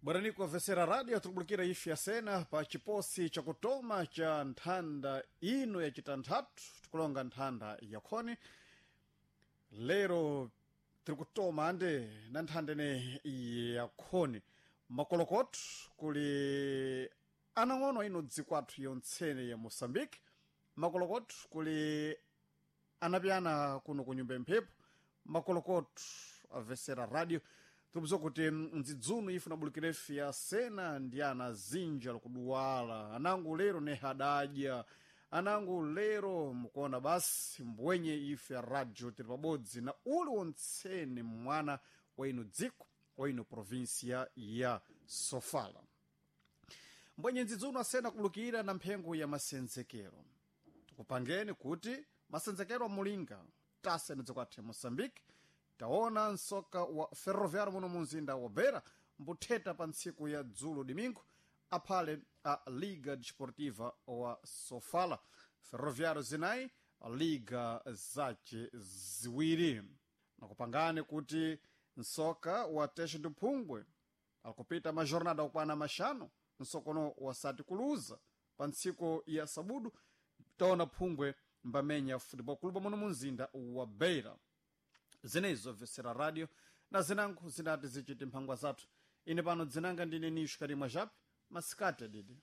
Bwerani kuamvesera radio tikubulukira ife yasena pa chiposi chakutoma cha nthanda ino yacitanthatu, tikulonga nthanda yakhoni. Lero tiri kutoma ande na nthanda ine yakhoni. Makolokotho kuli anang'ono ino dziko athu yontsene ya Moçambique. Makolokotho kuli anapyana kuno ku nyumba mphepo. Makolokotho amvesera radio, tikupeza kuti mdzidzuno ife nabulukirefe ya sena ndi ana zinja likuduwala anangu lero ne hadadya anangu lero mukuona basi mbwenye ife ya radio tili pabodzi na uli wontsene mwana wa ino dziko, wa ino provinsia ya Sofala. Mbwenye ndzidzuno asena kubulukira na mphengo ya masenzekero, tikupangeni kuti masenzekero amulinga tase dziko athu ya Moçambique. Taona msoka wa Ferroviário muno munzinda wa Beira mbutheta pa ntsiku ya dzulo domingo aphale a Liga Desportiva wa Sofala, Ferroviário 4, Liga zace 2. Nakupangani kuti msoka wa Tete do Phungwe akupita majornada okwana 5 msokono wasati kuluza. Pa ntsiku ya sabudu taona Phungwe mbamenya Futebol Clube muno munzinda wa Beira. Zinezo vesera radio na zinango zinati zichiti mphangwa zathu. Ine pano dzinanga ndine Nisho Karimwa Jape. Masikati adidi.